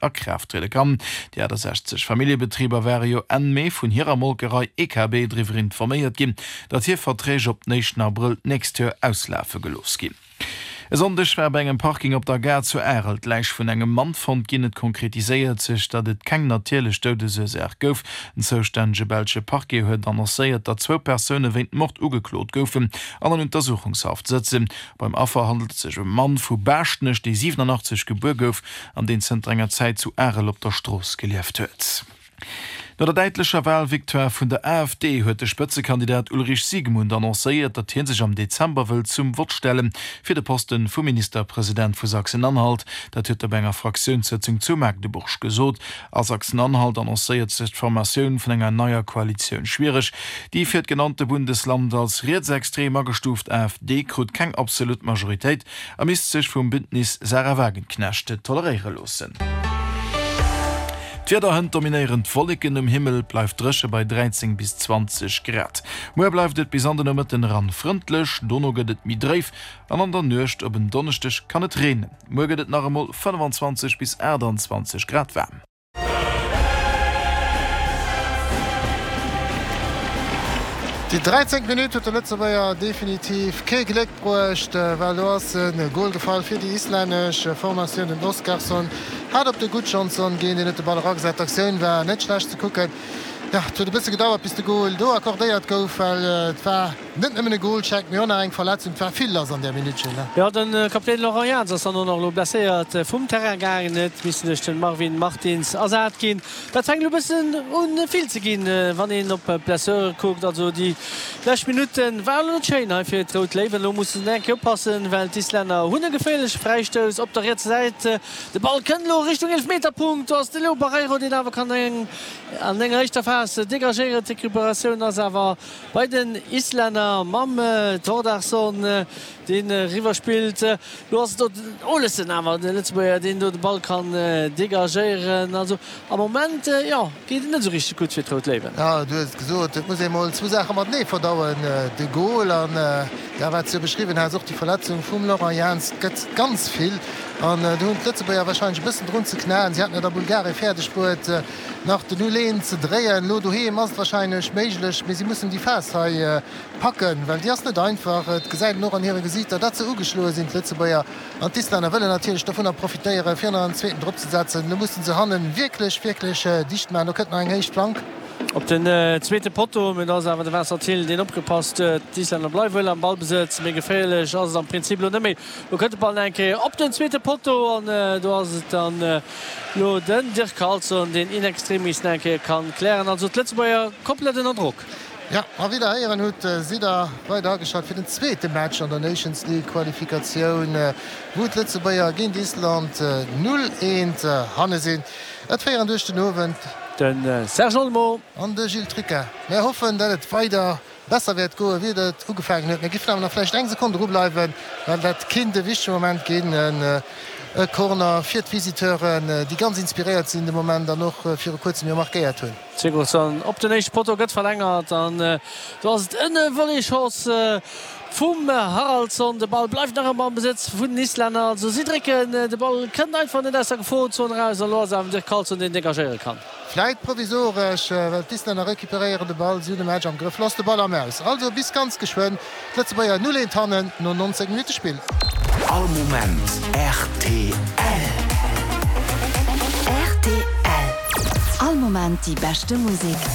A Kraaft triede kann. Déi 68 Familljebetriber ware jo Enn Mee vun hirer Molkerei EKB driwwer informéiert ginn, datt hir Verträg op den éischten Abrëll d'nächst Joer auslafe gelooss ginn. E Sonndeg war bei engem Parking op der Gare zu Arel d'Läich vun engem Mann fonnt ginn. Et konkretiséiert sech, datt et keng natierlech Doudesursaach gouf. Den zoustännege belsche Parquet huet annoncéiert, datt zwou Persoune wéint Mord ugeklot goufen an an Untersuchungshaft sëtzen. Beim Affer handelt et sech ëm e Mann vu Baaschtnech, dee 87 gebuer gouf an deen zënter enger Zäit zu Arel op der Strooss gelieft huet. No der däitlecher Walvictoire vun der AfD huet de Spëtzekandidat Ulrich Siegmund annoncéiert, datt hie sech am Dezember wëllt zum Vott stelle fir de Posten vum Ministerpresident vu Sachsen-Anhalt. Dat huet e bei enger Fraktiounssëtzung zu Magdeburg gesot. A Sachsen-Anhalt annoncéiert sech d'Formatioun vun enger neier Koalitioun schwiereg. Déi fir d'genannte Bundesland als rietsextrem agestuuft AfD krut keng absolut Majoritéit. A misst sech vum Bündnis Sahra Wagenknecht toleréiere loossen. D'Wieder, Hënt dominéieren d'Wolleken um Himmel, et bleift dréche bei 13 bis 20 Grad. Muer bleift et bis an de Nomëtten eran frëndlech, dono gëtt et méi dréif an an der Nuecht op en Donneschdeg kann et reenen. Muer gëtt et nach emol 25 bis 28 Grad waarm. Déi 13. Minutt huet de Lëtzebuerger definitiv kee Gléck bruecht, well do ass e Gol gefall fir déi islännesch Formatioun. Den Oskarsson hat op de Gudjonsson ginn, deen huet de Ball eragesat. D'Aktioun war net schlecht ze kucken. Jo, et huet e bësse gedauert, bis de Gol do accordéiert gouf, well et war Net nëmmen e Goalcheck, mee och nach eng Verletzung. Et war vill lass an där Minutt, Gilles. Jo, de Kapitän Laurent Jans ass dann och nach elo blesséiert vum Terrain gaangen. Et missten duerch de Marvin Martins ersat ginn. Dat fänkt elo e bëssen un vill ze ginn, wann een op d'Blessure kuckt. Also déi lescht Minutte waren elo net schéin hei fir d'Rout Léiwen. Elo musse se eng Kéier oppassen, well d'Islänner hunn e geféierleche Fräistouss op der rietser Säit. De Ball kënnt elo Richtung Eelefmeterpunkt. Do ass de Leo Barreiro, deen awer kann an enger éischter Phas degagéieren. D'Recuperatioun ass awer Bei den Islänner mam Thordarson, deen eriwwer spillt. Lo ass et do den Olesen awer, de Lëtzebuerger, deen do de Ball kann degagéieren. Also am Moment, jo, geet et net esou richteg gutt fir d'Rout Léiwen. Jo, du hues et gesot, et muss ee mol zwou Saache matenee verdauen, de Gol an, jo, wat s du beschriwwen has, och déi Verletzung vum Laurent Jans. Et gëtt ganz vill an do hunn d'Lëtzebuerger warscheinlech e bëssen drun ze knaen. Si haten et a Bulgarie fäerdeg bruet, Nach den Null een ze dréien. Lo doheem ass et wahrscheinlech méiglech, mee si mussen déi Phas hei packen, well déi ass net einfach. Et gesäit een och an hire Gesiichter, datt se ugeschloe sinn, d'Lëtzebuerger. An d'Islänner wëllen natierlech dovunner profitéieren, fir nach en zweeten drop ze setzen. Lo musse se hannen wierklech, wierklech dicht maachen. Do kënnt nach eng héich Flank. Op den zweete Potto, mee do ass awer de Vincent Thill, deen opgepasst huet. D'Islänner bleiwe wuel am Ballbesëtz, mee geféierlech ass et am Prinzip lo net méi. Lo kënnt de Ball nach eng Kéier op den zweete Potto an do ass et dann lo den Dirk Carlson, deen in extremis nach eng Kéier kann klären. Also d'Lëtzebuerger komplett ënner Drock. Jo, a wéi der héieren hutt, sidd der weider ageschalt fir den zweete Match an der Nations League Qualifikatioun, wou d'Lëtzebuerger géint Island 0, 1 hanne sinn. Et féieren duerch den Owend. De Serge Olmo. An de Gilles Tricca. Mär hoffen, dat et weider besser wäert goen, wéi et ugefaangen huet. Mir giffen awer nach vläicht eng Sekonn dru bleiwen, well dat kinnt e wichtege Moment ginn, e Corner fir d'Visiteuren, déi ganz inspiréiert sinn de Moment an och viru kuerzem jo markéiert hunn. Sigurdsson op den éischte Potto, gëtt verlängert an do ass et en Volleyschoss vum Haraldsson. De Ball bleift nach ëmmer am Besëtz vun den Islänner, also si drécken, de Ball kënnt einfach net aus der Geforenzon eraus an elo ass et awer den Dirk Carlson, deen degagéiere kann. Vläit provisoresch, well d'Islänner recuperéieren de Ball, si hunn de Match am Grëff, lass de Ball am Aus. Also bis ganz geschwënn, d'Lëtzebuerger 0, 1 hannen no 19 Minutte Spill. All Moment rtl. Rtl. All Moment déi beschte Musek.